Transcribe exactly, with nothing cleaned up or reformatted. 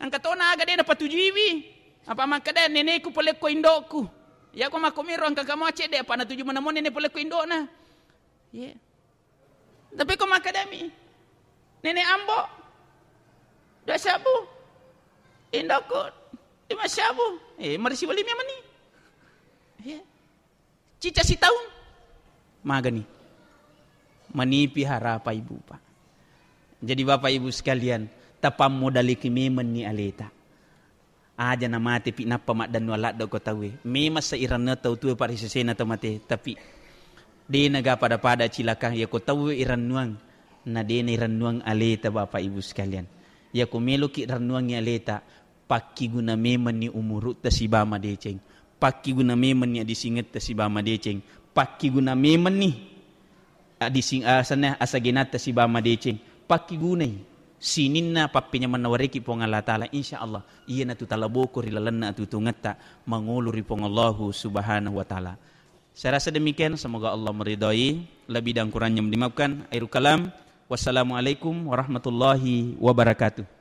Engka tona aga de' napatujuiwi. Apa makkeda, "Neneku pole ko indo'ku." Iyako makkomiro engka kamo cedde', apa natuju manamo nene pole ko indo'na. Ye. Tapi ko makkedami, "Nenek Ambo, dua sabbu. Indo'ku, lima sabbu." Eh, marisi wali memang ni. Ye. Cica sitaung. Magani. Manipi harapa ibu, Pak. Jadi, Bapak Ibu sekalian, tapammodaliki memenni aleta. Aja namate pi nappa maddannuang ladde ko tauwe. Memang seiranna tau tuwe parisesena tau mate, tapi dena ga pada-pada cilaka. Iya ko tauwe irannuang, na dena irannuang aleta, Bapak Ibu sekalian. Iya ko meloki rannuangi aleta, pakkiguna memenni umurutta siba madeceng, pakkiguna memenni adisingetta siba madeceng, pakkiguna memenni adising-, asanna asagenatta siba madeceng, pakkigunai sininna pappenyamenna wareki Puang Allah Ta'ala, insya Allah iyanatu talaboko ri lalenna atuongetta mangolo ri Puang Allahu Subhanahu wa Ta'ala. Saya rasa demikian, semoga Allah meridhai, lebih dan kurangnya dimaafkan. Akhirul kalam, wassalamualaikum warahmatullahi wabarakatuh.